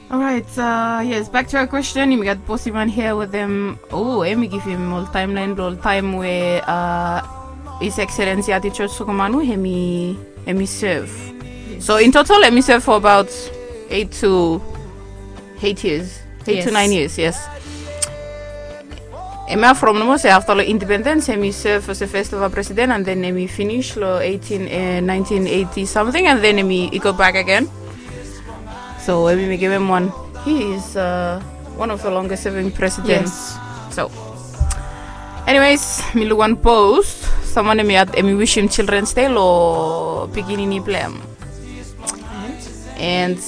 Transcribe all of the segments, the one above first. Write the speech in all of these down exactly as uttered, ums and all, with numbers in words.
Alright, uh, yes, back to our question. Yumi gat Bosiman here with them. Oh, emi givim ol timeline blo ol taem we uh, His Excellency Ati George Soekarno emi emi serve. So in total emi serve for about eight to eight years, eight to Yes. nine years, yes. Emi hafrom nomo se afta lo independence emi serve as a first ever president and then emi finish lo eighteen, eh, nineteen eighty something and then emi i go back again. So emi mekem em wan. He is uh, one of the longest serving presidents. Yes. So, anyways, mi luk wan post. Someone emi at emi wishim Children's Day lo pikinini blem. And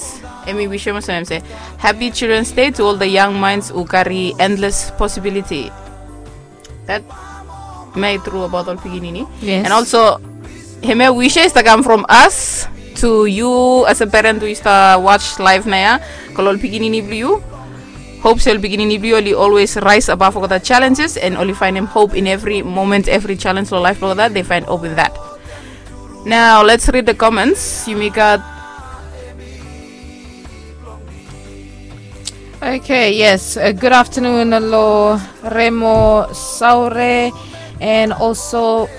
emi wishim olsem se, happy Children's Day to all the young minds who carry endless possibility. That may true about ol pikinini. Yes. And also, hemia wishes that come from us to you as a parent who used to watch live naya. Kol ol pikinini blo you. Hope se ol pikinini blo you oli always rise above all the challenges and oli find him hope in every moment, every challenge lo life lo that they find hope in that. Now let's read the comments. Yumi gat. Okay, yes. Uh, good afternoon, lo Remo Saure, and also.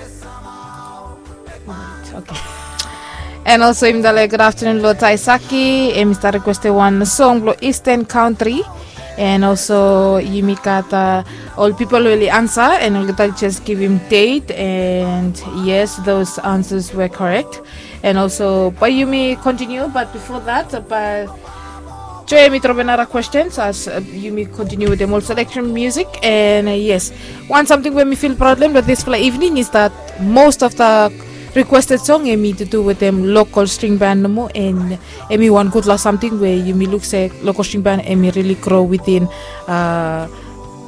Okay. And also, yumi dale good afternoon, lo Taisaki, and Mister Requested one song, lo Eastern Country. And also, yumi gat uh, all people really answer, and oli just give him date, and yes, those answers were correct. And also, bae yumi continue, but before that, bae Joe, yumi drop another questions as uh, yumi continue with the more selection music. And uh, yes, one something we mi feel problem with this fla evening is that most of the requested song emi to do with them local string band nomo, and emi wan gudfala something we yumi luk se local string band emi really grow within uh,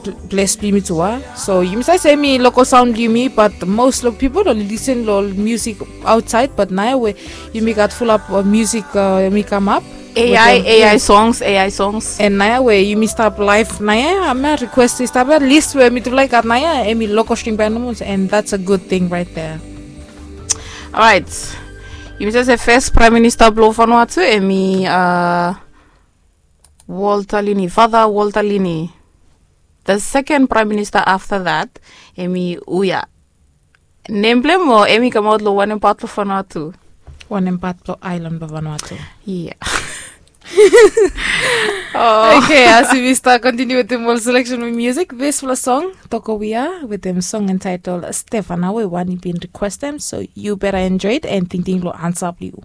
pl- ples blo yumi tu a. So yumi save se emi local sound blo yumi, but most lo people oli listen lo music outside, but naya we yumi gat fulap uh, music uh, emi kamap. Ai, Ai songs, Ai songs. And naya we yumi stap live naya, ama request i stap ya list we mitufala i gat naya emi local string band nomo, and that's a good thing right there. Alright. Yumi save se first prime minister blo Vanuatu emi uh, Walter Lini, Father Walter Lini. The second prime minister after that emi uya. Nem blo hem o emi kamaot lo wanem pat lo Vanuatu? Wanem pat lo island blo Vanuatu? Yeah. Oh. Okay, as we start continue with the more selection of music, this first song, Tokowia, with them song entitled Stefana, we wan i bin request them, so you better enjoy it and tingting lo answer blo you.